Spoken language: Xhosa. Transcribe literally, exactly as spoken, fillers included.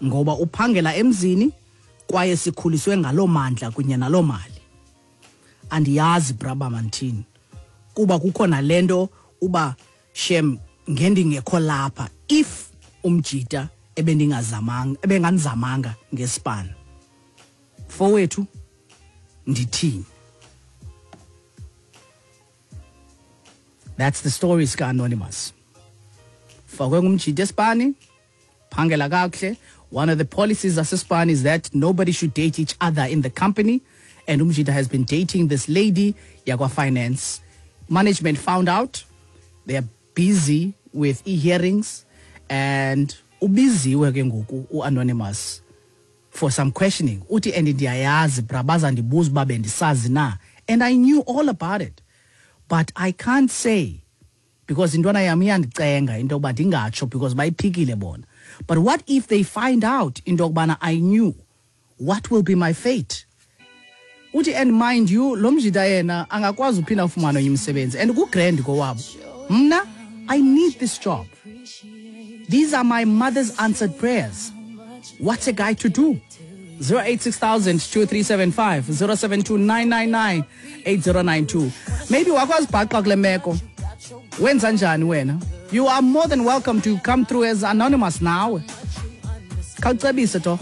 Ngoba uphangela emzini kwaye sikhuliswe ngaloo mandla kunye naloo mali. Andiyazi braba manthini. Kuba kukho nalento uba shem ngendingekho lapha if umjita ebendingazamanga ebenganzamanga ngespan. Fowethu ndithini? That's the story ska Anonymous. Fakwe ngumjita espani, phangela kakuhle. One of the policies zasespani is that nobody should date each other in the company, and umjita has been dating this lady yakwa finance. Management found out. They are busy with e-hearings, and ubiziwe ke ngoku u-Anonymous for some questioning. Uthi and ndiyayazi bra bazandibuza uba bendisazi na, and I knew all about it, but I can't say because intwana yam iyandicenga into yokuba ndingatsho because bayiphikile bona. But what if they find out into yokubana I knew? What will be my fate? Uthi and mind you, lo mjita yena angakwazi uphinda afumane omnye umsebenzi and kugrand kowabo. Mna, I need this job. These are my mother's answered prayers. What's a guy to do? zero eight six thousand two three seven five, zero seven two nine nine nine eight zero nine two. Maybe wakwazibhaqa kule meko. Wenza njani wena? You are more than welcome to come through as anonymous now. Khawucebise to.